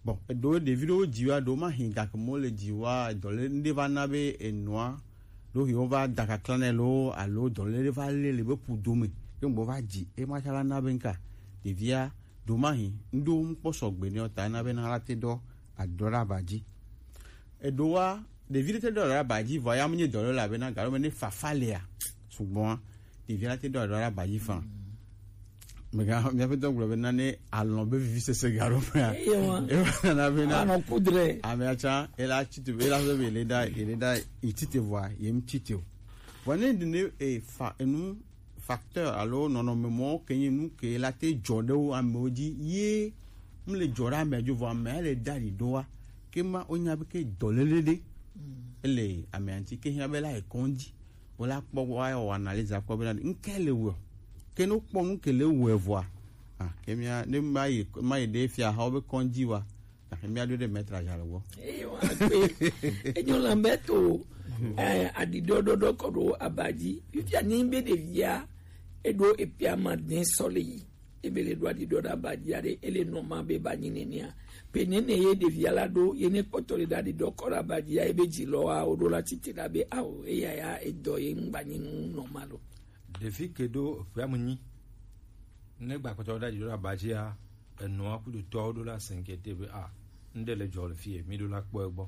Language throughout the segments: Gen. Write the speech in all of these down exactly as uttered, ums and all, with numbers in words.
Bon, eɖo ɖevi ɖewo dzi wa ɖo ma hin gake mo le dzi wa dɔ le ŋɖe va na be enua ɖo yi wo va da kakla nɛ lo alo dɔ le ɖe va le le be ƒu dome ke ŋgbo va dzi e ma tsala na be ŋka ɖevia ɖo ma hin ŋɖo ŋkpɔ sɔgbe ne ta na be na la te ɖɔ adɔ ɖe aba dzi. Eɖo wa ɖevi ɖe te ɖɔ ɖe aba dzi vɔ ya mu nye dɔ le la be na galo me ne fafa lea sugbɔn ɖevia la te ɖɔ ɖɔ ɖe aba dzi fan. Mega miaƒe dɔ gblɔ be nane alɔ̃ be vivi sese ga ɖo mea. Eye wa. Eva nana be na Anɔ kudre. Amea tsã ela tite ela be be le da ele da itite vɔa yem tite o. Vɔ ne ɖi ne e fa enu facteur alo nɔnɔme mɔwo ke nye nu ke la te dzɔ ɖe wo amewo dzi ye mu le dzɔ ɖe amea dzi vɔ amea le da ɖi ɖo wa ke ma wonya be ke dɔléle ɖe ele amea ŋuti ke hiã be la yi kɔdzi. Wo la kpɔ wa wɔ analyse akpɔ be na ŋke le wɔ ke no kpɔ nu ke le wɔ vɔa. Ah, ke mia ne ma yi ma yi ɖe fia ha wo be kɔdzi wa. Ah, ke mia ɖo ɖe maître aja le wɔ. Eye wa kpe. Enyo la be to eh, aɖiɖɔɖɔɖɔ kɔ ɖo aba dzi. Fifia ni be ɖevia eɖo epia ma den sɔ le yi. Ebe le ɖo aɖiɖɔ ɖe aba dzi aɖe ele nɔ ma be ba nyi nenea. Pe nene ye ɖevia la ɖo ye ne kpɔtɔ le ɖe aɖiɖɔ kɔ ɖe aba dzi ya ebe dzi lɔ wa wo ɖo la titi ɖa be awo eya ya edɔ ye ŋgba nyi nu nɔ ma lo. Ɖevi ke ɖo ƒea me nyi ne gba kpɔtɔ ɖe aɖiɖɔ ɖe aba dzi ya enɔa kudo tɔwo ɖo la s'inquiéter be a ŋɖe le dzɔ le fie mi ɖo la kpɔ egbɔ.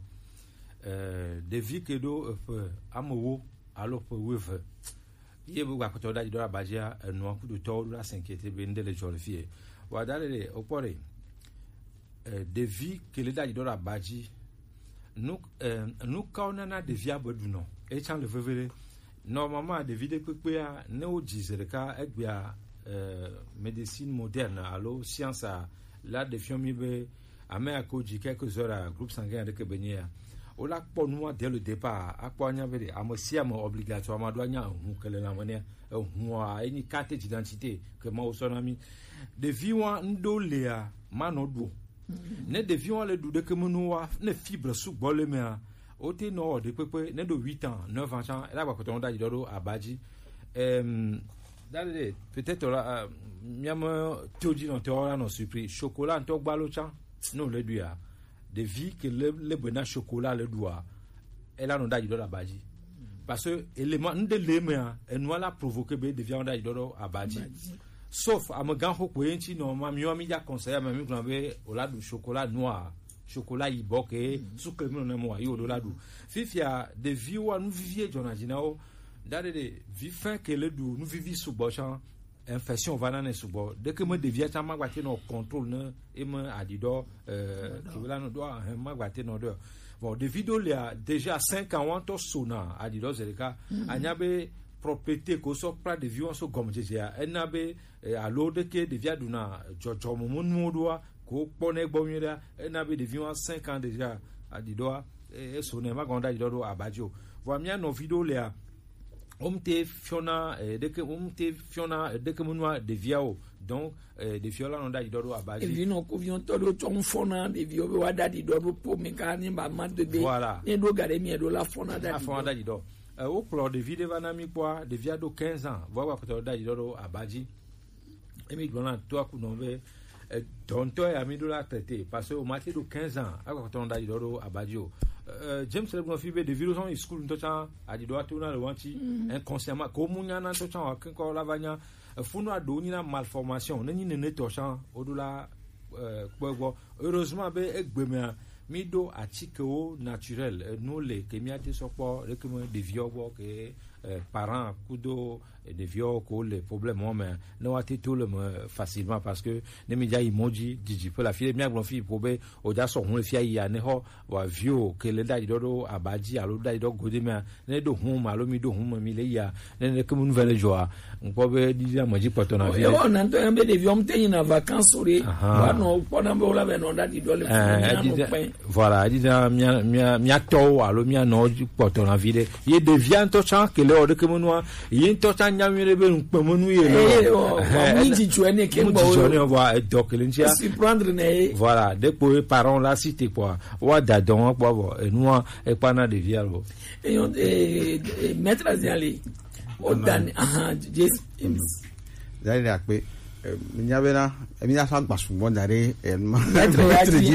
Eh, ɖevi ke ɖo eƒe amewo alo ƒe wuieve ye be gbakpɔtɔ ɖe aɖiɖɔ abadzia enua kudotɔwo ɖo la s'inquiéter be ŋɖe le dzɔ le fie. Wa da le le okpɔ ɖe eh, ɖevi ke le ɖe aɖiɖɔ abadzi nu eh, nu kawo nana ɖevia be ɖunɔ etsã le veve ɖe. Normalement ɖevi ɖe kpekpea ne wo dzi ze ɖeka egbea eh, médecine moderne alo science a la ɖefiɔ mi be ame ya ke wodzi quelque heures à groupe sanguin aɖeke be nye ya. Wola kpɔ nua dès le départ akpɔ anya be ɖe ame sia ame obligatoirement ɖo anya ehu ke le lãme nɛ. Ehua enyi carte d'identité ke Mawu sɔ na mi. Ɖevi wa ŋɖo lea manɔ ɖu o. Ne ɖevi wa le ɖu ɖeke menu wa ne fibre sugbɔ le mea wote nɔ wɔ ɖekpekpe ne ɖo huit ans neuf ans tsã ela gbakpɔtɔ ŋu ɖaɖi ɖɔ ɖo aba dzi. Em, Dade, peut-être la, euh, miame todzi nɔ tɔ la nɔ surpris. Chocolat ŋutɔ gbalo tsã, ne wòle ɖuia, ɖevi ke le le be na chocolat le ɖua, ela nɔ ɖaɖi ɖɔ ɖe aba dzi. Parce que élément ŋɖe le emea, enua la provoquer be ɖevia nɔ ɖaɖi ɖɔ ɖo aba dzi. Sauf amegã xo kpoe ŋuti nɔ ma miwa mi dza conseil ame mi gblɔ be wòla ɖu chocolat noir, chocolat yibɔ ke sucre mi nɔ ne mo ayi wòɖo la ɖu. Fifia ɖeviwoa nu vivi ye dzɔna dzi na wo. Dade ɖe vi fɛn ke le ɖu nu vivi sugbɔ tsã infection va na ne sugbɔ ɖeke me ɖevia tsã ma gba te nɔ contrôle ne eme aɖiɖɔ eh, ke la no ɖo ahɛ ma gba te nɔ ɖo. Bon ɖevi ɖo lia déjà cinq ans wa ŋutɔ sona aɖiɖɔ ze ɖeka anya be propreté ko sɔ kpla ɖevi wa so gɔmedzedzea ena be eh, alo ɖeke ɖevia ɖuna dzɔdzɔme me nuwo ɖoa ko kpɔ ne gbɔ nyuie ɖa ena be ɖevi wa cinq ans déjà aɖiɖɔa eso ne ma gɔn ɖaɖiɖɔ ɖo aba dzi o. Vɔa mia nɔvi ɖewo lea womte fiɔna eh, ɖeke womte fiɔna eh, ɖeke menua ɖevia o. Donc eh, ɖeviɔ la nɔ ɖaɖiɖɔ ɖo aba dzi. Evi nɔ ko viɔ tɔ ɖo tsɔ ŋfɔ na ɖeviɔ be wa ɖaɖiɖɔ ɖo po me ka ne ba ma do be voilà ne ɖo ga ɖe mi ɖo la fɔna ɖaɖiɖɔ. Afɔna ɖaɖiɖɔ. Eh, wokplɔ ɖevi ɖe va na mi kpɔa ɖevia ɖo quinze ans vɔ wa kpɔtɔ ɖaɖiɖɔ ɖo aba dzi. Emi gblɔ na to aku nɔ be eh, dɔntɔ ya mi ɖo la traité parce que o ma te ɖo quinze ans akɔtɔ nɔ ɖaɖiɖɔ ɖo aba dzi o. Eh, James le gblɔ fi be ɖevi ɖo sɔn yi school ŋutɔ tsã aɖiɖɔ ato na le wa ŋuti inconsciemment ko mu nya na ŋutɔ tsã wa keŋkɔ la va nya efunu aɖewo nyi na malformation ne nyi nene tɔ tsã woɖo la eh, kpɔ egbɔ. Heureusement be egbe mea mi ɖo atikewo naturel enu le ke mia te sɔ kpɔ ɖeke me ɖeviwo gbɔ ke eh, parent kudo ɖeviwo ko le problème wo me ne wa te to le me facilement parce que ne mi dza yi mɔ dzi didi ƒe la fi ɖe mia gblɔ fi po be o dza sɔ hun le fia yi ya ne xɔ wa viwo ke le ɖaɖi ɖɔ ɖo aba dzi alo ɖaɖi ɖɔ gode mea ne ɖo hun me alo mi ɖo hun me mi le ya ne ne ke mu nu vɛ le dzɔa ŋkpɔ be ɖiɖi ame dzi kpɔtɔ na vi ɖe. Ewɔ na ŋutɔ ya be ɖeviwo ŋutɔ yina vacances ɖe. Aha. Wa nɔ kpɔ na be wo la be nɔ ɖaɖi ɖɔ le fi mi na nɔ kpɛ. Voilà, eɖi na mia mia mia tɔwo alo mia nɔ dzi kpɔtɔ na vi ɖe. Ye ɖevia ŋutɔ tsã kele wɔ ɖeke menua ye ŋutɔ tsã nya nyuie ɖe be ŋkpemenu ye le. Eye wɔ mi dzidzɔ ne ke gbɔ wo dzidzɔ ne vɔ edɔ kele ŋutia surprendre ne ye. Voilà, ɖekpo ye parent la si te kpɔa wa da dɔn wa kpɔ vɔ enua ekpa na ɖevia lo. Eyo eh, eh, maître aziali o dan aha James. Dali akpe. Minya bena minya fa gba sugbɔ da ɖe eh, ma- Maître ya dzi